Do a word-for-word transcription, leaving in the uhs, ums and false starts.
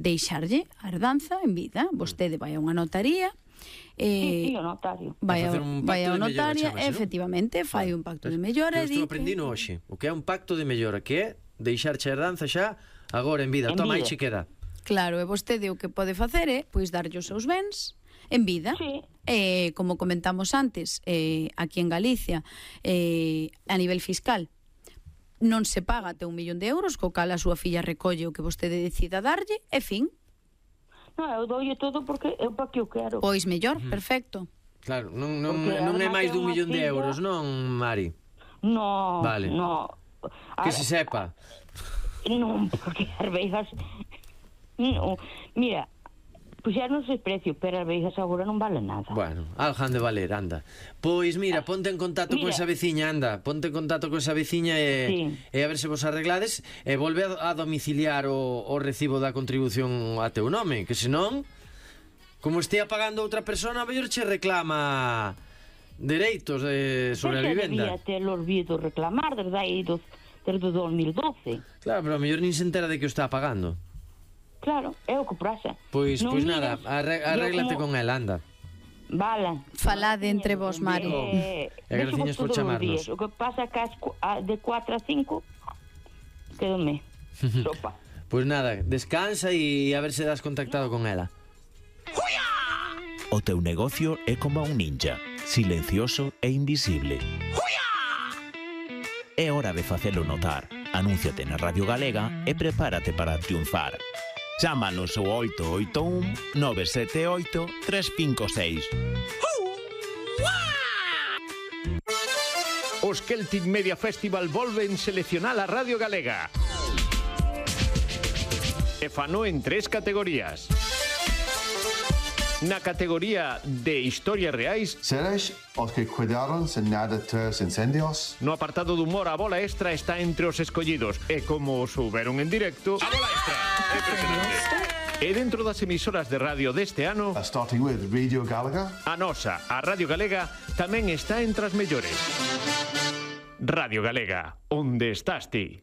deixarlle a herdanza en vida. Vostede vai a unha notaría, Eh, sí, sí, o notario. Vai a, vai a notaria, efectivamente, fai un pacto de mellora. Eu estou aprendendo hoxe o que é un pacto de mellora, que é deixarche a herdanza xa agora en vida. En Toma, aí vida. che queda. Claro, e vostede o que pode facer é pois darlle os seus bens en vida. Sí. Eh, como comentamos antes, eh, aquí en Galicia, eh, a nivel fiscal, non se paga até un millón de euros, co cal a súa filla recolle o que vostede decida darlle, e fin. No, eu doulle todo porque é para que eu quero. Pois mellor, perfecto. Claro, non, non, Porque non é además máis é dun unha millón de filla- euros, non, Mari? No, Vale. no. Que A- se sepa. Non, porque as veigas... No, mira, puxeron ese precio, pero as veigas agora non valen nada. Bueno, algo han de valer, anda. Pois mira, ponte en contacto con Mira. esa veciña, anda. Ponte en contacto con esa veciña e, Sí. e a ver se vos arreglades e volve a, a domiciliar o, o recibo da contribución a teu nome, que senón, como estea pagando outra persona, a mellor che reclama dereitos de, sobre a Ese vivenda. debía ter olvido reclamar desde aí dos, desde o dos mil doce. Claro, pero a mellor nin se entera de que o está pagando. Claro, é o que pasa. Pois, Non pois miras, nada, arre, yo arréglate con como- ela, anda. Vale. Falade entre vos, Mari. Eh, E graciñas por todos os chamarnos. días. O que pasa é que as cu- a- de cuatro a cinco quedome sopa. Pois nada, descansa e a ver se das contactado con ela. O teu negocio é como un ninja, silencioso e invisible. É hora de facelo notar. Anúnciate na Radio Galega e prepárate para triunfar. Chámanos ao oito oito un nove sete oito tres cinco seis. Os Celtic Media Festival volven seleccionar a Radio Galega. E fano en tres categorías. Na categoría de historias reais, Seres os que cuidaron sen nada tres incendios. no apartado de humor, a bola extra está entre os escollidos. E como souberon en directo, a bola extra é impresionante. E dentro das emisoras de radio deste ano, Uh, starting with Radio Galaga. a nosa, a Radio Galega, tamén está entre as mellores. Radio Galega, onde estás ti?